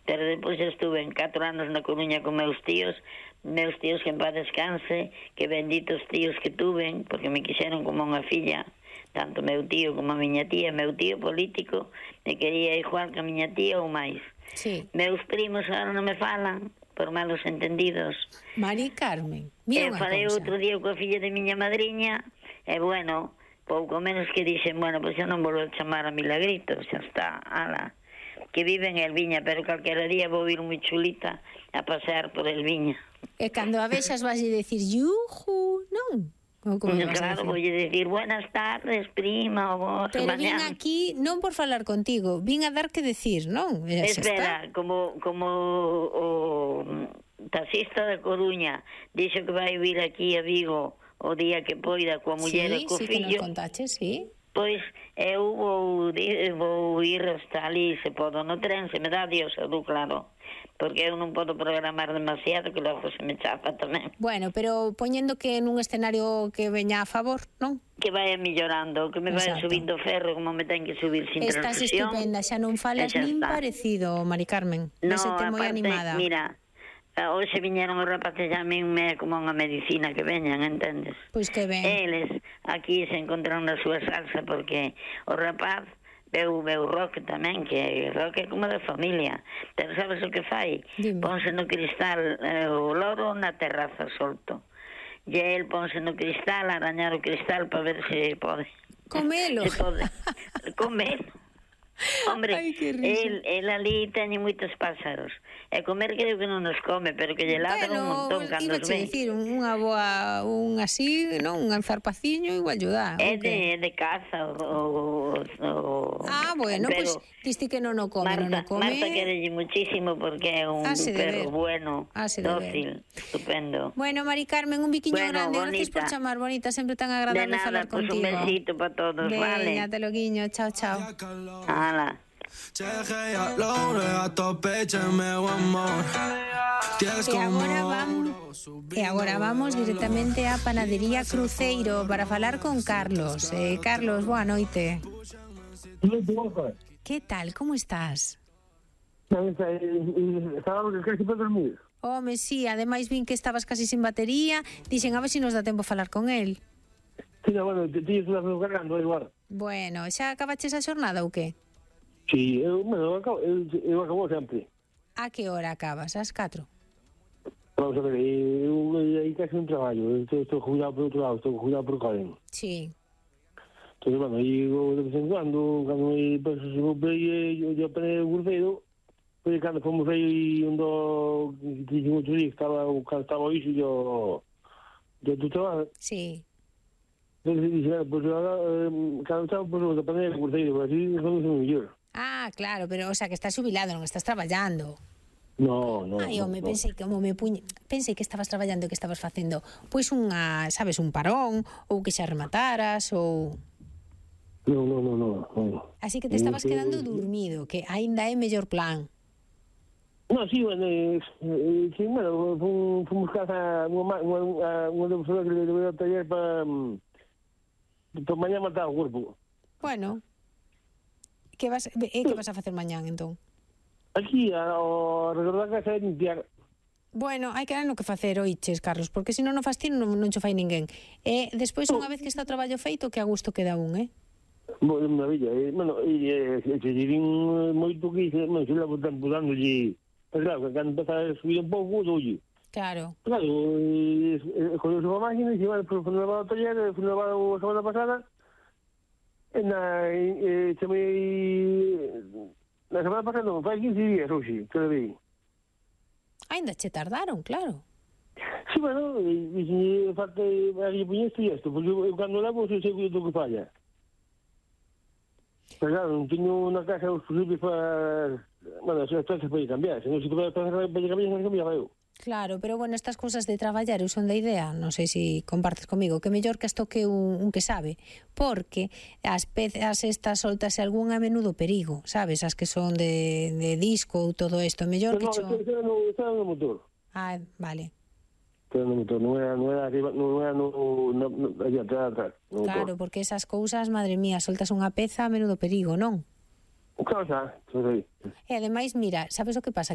pero depois estuve en 4 anos na Coruña con meus tíos que en paz descanse, que benditos tíos que tuven, porque me quixeron como unha filla, tanto meu tío como a miña tía. Meu tío político me quería igual que a miña tía ou máis. Sí. Meus primos agora non me falan por malos entendidos. Mari Carmen, mira unha falei cousa. outro día coa filla de miña madriña, e bueno, pouco menos que dixen, bueno, pois xa non volvo a chamar a Milagrito, xa está, ala, que vive en Elviña, pero calquera día vou ir moi chulita a pasear por Elviña. E cando a vexas vas a decir yuju, non? Ou como vas a Claro, decir? vou decir buenas tardes, prima, o vos, Pero mañá. vin aquí non por falar contigo, vin a dar que decir, non? E xa Espera, como o taxista da Coruña dixo que vai vir aquí a Vigo o día que poida coa muller e co sí, que nos fillo, contaches, sí. pois eu vou ir hasta ali, se podo, no tren, se me dá Dios, claro, porque eu non podo programar demasiado, que logo se me chapa tamén. Bueno, pero poñendo que nun escenario que veña a favor, non? Que vaya millorando, que me vaya subindo ferro como me ten que subir sin Estás transfusión. estupenda, xa non falas nin está parecido, Mari Carmen. No, Vésete moi aparte, animada. mira, hoxe viñeron os rapaces a min me como unha medicina que veñan, entendes? Pois que ben. Eles aquí se encontraron na súa salsa porque o rapaz veu rock tamén, que rock é como de familia. Pero sabes o que fai? Dime. Ponse no cristal o loro na terraza solto. E el ponse no cristal, arañar o cristal para ver se pode. Comelo. Se pode. Comelo. Hombre, Ai, que risa. el ali teñe moitos pásaros. E comer creo que non nos come, pero que lle ladra un montón cando os ve. Dicir, unha boa, un así, non, un zarpaciño igual lle dá. É de caza bueno, pero pois diste que non o come, Marta querelle muchísimo porque é un perro bueno, dócil, estupendo. Bueno, Mari Carmen, un biquiño grande, gracias por chamar, bonita, sempre tan agradable falar contigo. De nada, pues un besito para todos, vale. Veña, te lo guiño, chao, chao. Hala. E agora vamos directamente á Panadería Cruceiro para falar con Carlos. Carlos, boa noite. Que tal, como estás? Estábamos casi para dormir. Home, sí, ademais vin que estabas casi sin batería. Dixen, a ver se nos dá tempo a falar con el. Sí, bueno, tío, estás cargando igual. Bueno, xa acabaches a xornada ou que? Sí, eu acabo sempre. A que hora acabas? Ás 4? Vamos a ver, eu aí casi un traballo. Estou jubilado por outro lado, estou jubilado por Coren. Sí. Entonces, bueno, aí de vez en cando me paso se vou eu apanei o Cruceiro, pois cando fomos aí onde dixen outro día que estaba iso do trabalho. Sí. Entonces dixen, pois agora, cando estaba, pois apanei o Cruceiro, así somos o mellor. Ah, claro, pero, o sea, que estás jubilado, non estás traballando. No. Ai, home, pensei que estabas traballando e que estabas facendo, pois unha, sabes, un parón, ou que xa remataras, ou... No. Así que te estabas quedando dormido, que aínda é mellor plan. No, sí, bueno, fomos casa unha persona que le voy a taller para mañá matar o corpo. Bueno, que vas a facer mañán, entón? Aquí, ao redor da casa é limpiar. Bueno, hai que dar no que facer, oiches, Carlos, porque se non o fas ti non cho fai ninguén. E despois, unha vez que está o traballo feito, que a gusto queda un, Bueno, maravilla. Bueno, se dirín moito que se levo tempo dándolle... Pero claro, que cando empeza a subir un pouco, doulle. Claro. Claro, con a máquina, se vai por levar ao taller, foi levar a semana pasada, na semana pasada non, fai 15 días hoxe, que levei. Ainda che tardaron, claro. Sí, bueno, falta aquí poñer isto, porque eu cando levo sei do que falla. Pero claro, non teño unha casa os posibles para... Bueno, as peças para ir cambiar, se non se toca para ir cambiar, eu. Claro, pero bueno, estas cousas de traballar eu son da idea, non sei se compartes comigo, que mellor que as toque un que sabe, porque as pezas estas soltas algún a menudo perigo, sabes, as que son de disco ou todo isto, mellor que cho... Está no motor. Ah, vale. Está no motor, non era arriba, non era allá atrás. Claro, porque esas cousas, madre mía, soltas unha peza a menudo perigo, non? Claro, xa, sei. E ademais, mira, sabes o que pasa?